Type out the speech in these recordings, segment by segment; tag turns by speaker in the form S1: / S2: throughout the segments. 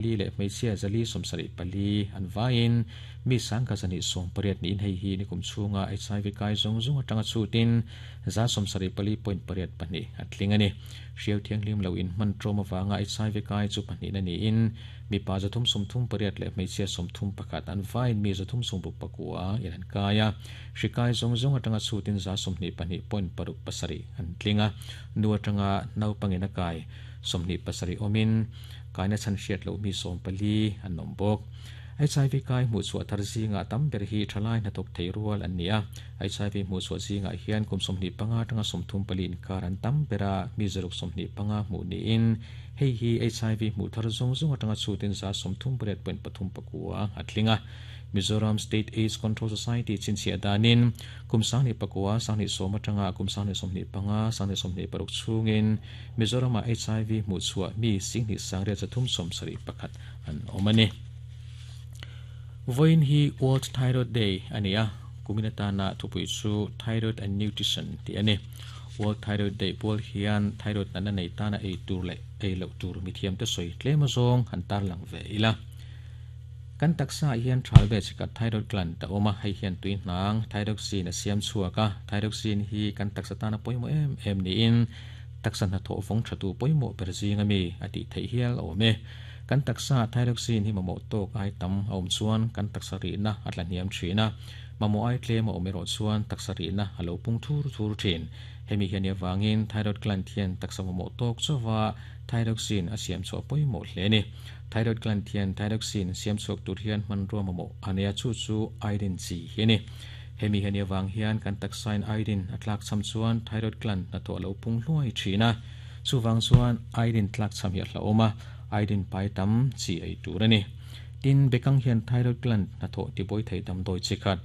S1: Li leh hmeichhia 474 an vaiin mi sangka 180 niin hei hi nikum chhunga HIV kai zawng zawng atanga chhutin 74.82 a tling a ni. Hriau thianghlim lo inhman ṭawm avanga HIV kai chu pahnihna niin mipa 338 leh hmeichhia 31 an vaiin mi 369 in an kai a. Hri kai zawng zawng atanga chhutin 22.67 an tling a. Nu atanga naupangin a kai 27 awmin Kaina chhan hriat loh mi 14 an awm bawk. HIV kai hmuhchhuah thar zingah tam ber hi thalai hnathawk thei rual an ni a. HIV hmuhchhuah zingah hian kum 25 atanga 34 inkar an tam ber a, mi 125 hmuh niin hei hi HIV hmuh thar zawng zawng atanga chhutin 38.39 a tling a. Mizoram State AIDS Control Society chhinchhiah danin kum 19 10 atanga kum 25 26 chhungin Mizoramah HIV hmuhchhuah mi singhnih sangriat 371 an awm a ni. Vawiin hi World Thyroid Day a ni a, kumin atana thupui chu Thyroid and Nutrition tih a ni. World Thyroid Day pual hian thyroid natna nei tana ei tur leh ei loh tur mithiamte sawi tlem azawng han tarlang ve ila. Kan taksa ah hian thal ve chikhat thyroid gland a awm a, hei hian tui hnang thyroxine a siam chhuak a, thyroxine hi kan taksa tana pawimawh em em niin taksa hnathawh vawng thatu pawimawh ber zing ami a tih theih hial a awm e. Kan taksa ah thyroxine hi mamawh tawk ai tam a awm chuan kan taksa rihna a tla hniam thin a, mamawh ai tlem a awm erawh chuan taksa rihna a lo pung thur thur thin. Hemi hian i avangin thyroid gland hian taksa mamawh tawk chauva thyroxine a siam chhuah pawimawh hle a ni. Thyroid gland hian thyroxine siam chhuak tur hian hmanrua mamawh a nei a, chu chu iodine chi hi a ni. Hemi hian i avang hian kan taksain iodine a tlakchham chuan thyroid gland hnathawh a lo pung hluai thin a. Chuvang chuan iodine tlakchham hi a hlauhawm a, iodine pai tam chi ei tur a ni. Tin, bekang hian thyroid gland hnathawh tibuai thei damdawi chi khat,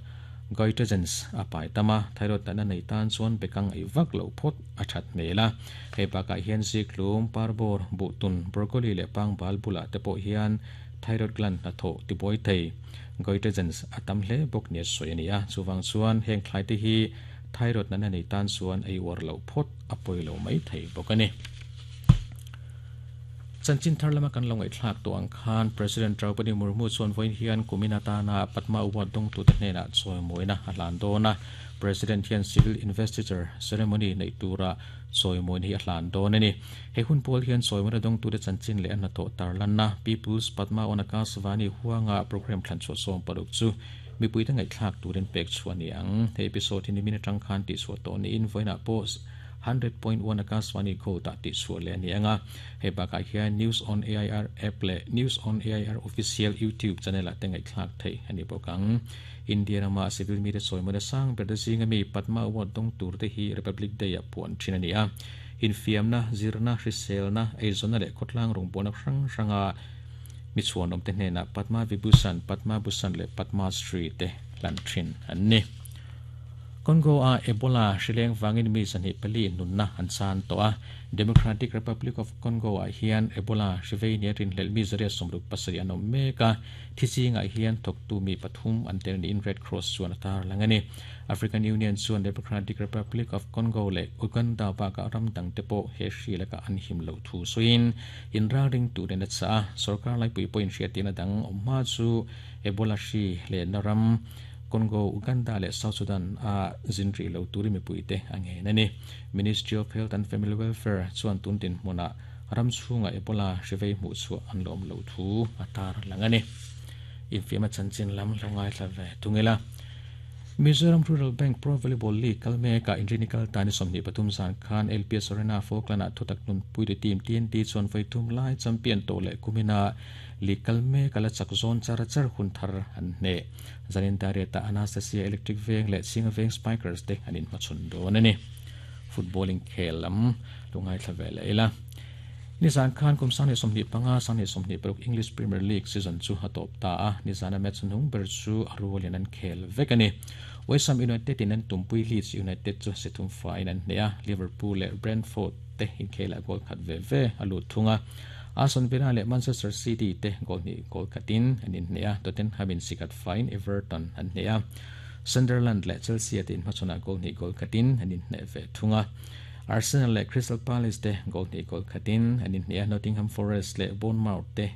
S1: goitrogens, a pai tam a, thyroid natna nei tan chuan bekang ei vak loh phawt a that hmel a. Hei bakah hian zikhlum, parbawr, buhtun, broccoli leh pangbal bulah te pawh hian thyroid gland hnathawh tibuai thei goitrogens a tam hle bawk nia sawi a ni a. Chuvang chuan heng thlai te hi thyroid natna nei tan chuan ei uar loh phawt a pawi lo mai thei bawk a ni. Chanchin thar lama kan lo ngaihthlak tawh ang khan President Draupadi Murmu chuan vawiin hian kumin atana Padma Award dawngtute hnenah chawimawina a hlan dawn a. President hian Civil Investiture Ceremony neih tura chawimawina hi a hlan dawn a ni. He hun pawl hian chawimawina dawngtute chanchin leh a hnathawh tarlanna People's Padma on Akashvani huanga programme thlanchhuah 16 chu mipuite ngaihthlak turin pek chhuah a ni ang. He episode hi nimin atang khan tihchhuah tawh niin vawiinah pawh 100.1 Akashvani Gold ah tihchhuah leh a ni ang a. Hei bakah hian News on AIR app leh News on AIR Official YouTube channel ah te ngaihthlak theih a ni bawk ang. India rama civil mite chawimawina sang ber te zinga mi Padma Award dawng tur te hi Republic Day ah puan thin a ni a. Infiamna, zirna, hriselna, eizawnna leh khawtlang rawngbawlna hrang hranga mi chhuanawm te hnenah Padma Vibhushan, Padma Bhushan leh Padma Shri te hlan thin an ni. Congo-a Ebola hrileng vangin mi 24 nunna an chan tawh a. Democratic Republic of Congo-ah hian Ebola hri vei nia rinhlelh mi 167 an awm mek a. Thi chingah hian thawktu mi pathum an tel niin Red Cross chuan a tarlang a ni. African Union chuan Democratic Republic of Congo leh Uganda bakah ram dangte pawh he hri lakah an him loh thu sawiin inralring turin a chah a. Sorkar laipui pawhin hriattirna dang awm hma chu Ebola hri lehna ram Congo, Uganda leh South Sudan a zin rih lo turin mipuite a ngen a ni. Ministry of Health and Family Welfare chuan tun dinhmunah ram chhungah Ebola hri vei hmuh chhuah an lawm loh thu a tar lang a ni. Infiamna chanchin lam lo ngaithla ve thung ila. Mizoram Rural Bank Pro Volleyball League kal mekah Inrini kal tani 23 zan khan LPS Arena Falkland-ah thutak nunpuitu team TNT chuan vawi thum lai champion tawh leh kumina League kal mek a la chak zawn char char hun thar an hneh. Zanin Dariata Anastasia Electric Veng leh Chhinga Veng Spikers te an inhmachhawn dawn a ni. Football inkhel lam lo ngaithla ve leh ila. Nizan khan kum 2025, 2026 English Premier League season chu a tawp ta a, nizana match hnung ber chu a rualin an khel vek a ni. West Ham United in an tumpui Leeds United chu si thum faiin an hneh a, Liverpool leh Brentford te inkhelah goal khat ve ve a lut thung a. Aston Villa leh Manchester City te goal hnih goal khatin an inhneh a, Tottenham in sikhat faiin Everton an hneh a, Sunderland leh Chelsea te inhmachhawnah goal hnih goal khatin an inhneh ve thung a. Arsenal leh Crystal Palace te goal hnih goal khatin an inhneh a, Nottingham Forest leh Bournemouth te.